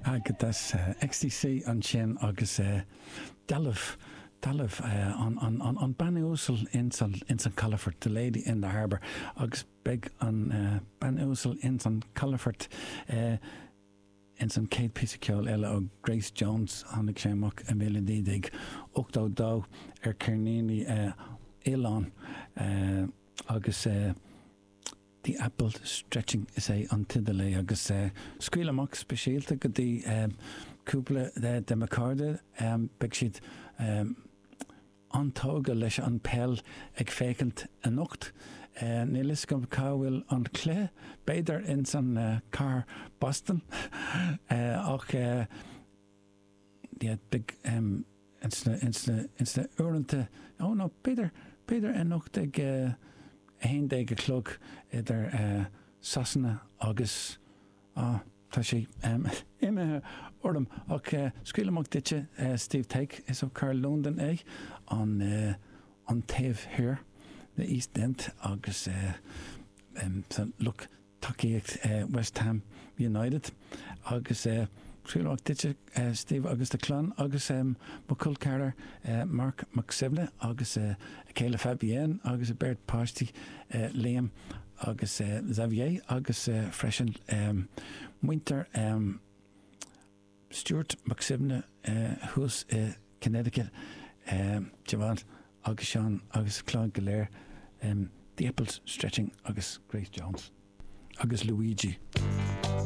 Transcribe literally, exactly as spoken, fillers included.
Agus XTC ansin agus dealbh dealbh an an an an bean uasal ins an ins an calafort the lady in the harbour agus beidh an bean uasal ins an calafort ins an chéad píosa ceoil eile ó Grace Jones tháinig sé amach i míle naoi déag ochtó dó ar cheirníní Oileán agus The Apple Stretching is é an teideal é agus scaoil amach speisialta go dtí cúpla de mo chairde beidh siad an-tógtha leis an peil ag féachaint anocht. Níl fhios agam cá bhfuil an cluiche, b'fhéidir ins an cathair Boston ach yeah beidh ins na ins na ins na uaireanta ó nó b'fhéidir b'fhéidir anocht ag a haon déag a chlog idir Sasana agus ah tá sé imithe orm ach scaoil amach duitse Steve Take is ó Carl Londain é an an taobh thiar the East End agus lucht tacaíocht West Ham United agus scaoil amach duitse Steve agus do chlann agus mo chol ceathrar Mark Mac Suibhne agus a chéile Fabienne agus a beirt páistí Liam agus Xavier agus freisin muintir Stuart Mac Suibhne thuas i Connecticut Siobhán agus Seán agus clann go léir The Apples Stretching agus Grace Jones agus Luigi.